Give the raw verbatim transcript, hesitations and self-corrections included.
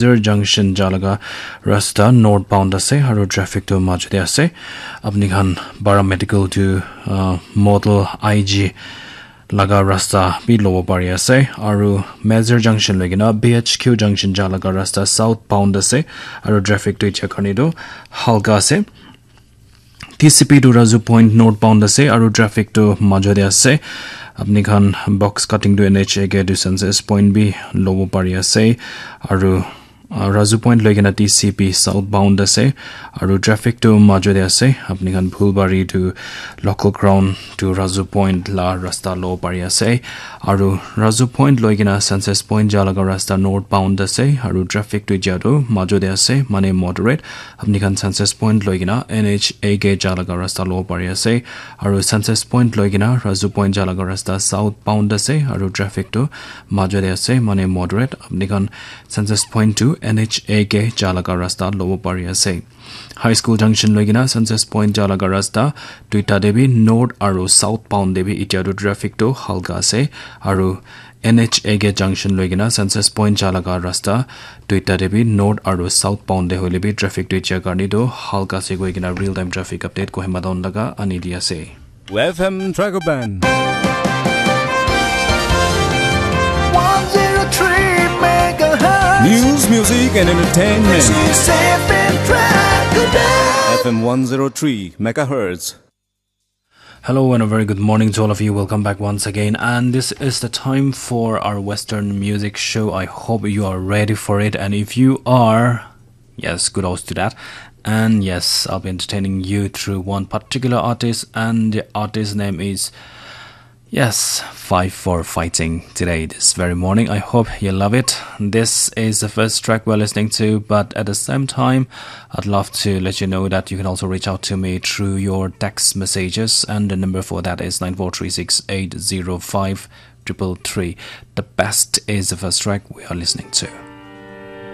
Mezir Junction ja laga rasta northbound ase aru traffic tu majot te ase. Apni khan paramedical tu uh, model I G laga rasta bi lobo pari ase aru Mezir Junction loi kena B H Q Junction ja laga rasta southbound ase aru traffic tu etia karne tu halka ase. T C P tu Razu Point northbound ase aru traffic tu majot te ase. Apni khan box cutting tu N H A ke tu Census Point bi lobo pari ase aru uh, Razu Point loi kena T C P southbound ase aru traffic tu majot te ase. Apni khan Phulbari tu local ground tu Razu Point la rasta lobo pari ase aru Razu Point loi kena Census Point ja laga rasta northbound ase aru traffic tu ja tu majot te ase mane moderate. Apni khan Census Point loi kena N H A ke ja laga rasta lobo pari ase aru Census Point loi kena Razu Point ja laga rasta southbound ase aru traffic tu majot te ase mane moderate. Apni khan Census Point tu N H A ke ja laga rasta lobo pari ase. High School Junction loi kena Census Point ja laga rasta duita te bi north aru southbound te bi etia tu traffic tu halka ase aru N H A ke junction loi kena Census Point ja laga rasta duita te bi north aru southbound te hoile bi traffic tu etia karne tu halka ase koi kena real time traffic update Kohima town laga ani di ase. F M Dragoban. one zero three megahertz. News, music, and entertainment. This is F M Dragoban. F M one zero three megahertz. Hello and a very good morning to all of you. Welcome back once again. And this is the time for our Western music show. I hope you are ready for it. And if you are, yes, kudos to that. And yes, I'll be entertaining you through one particular artist, and the artist name is, yes, Five for Fighting today, this very morning. I hope you love it. This is the first track we're listening to, but at the same time, I'd love to let you know that you can also reach out to me through your text messages, and the number for that is nine four three six eight zero five triple three. The best is the first track we are listening to.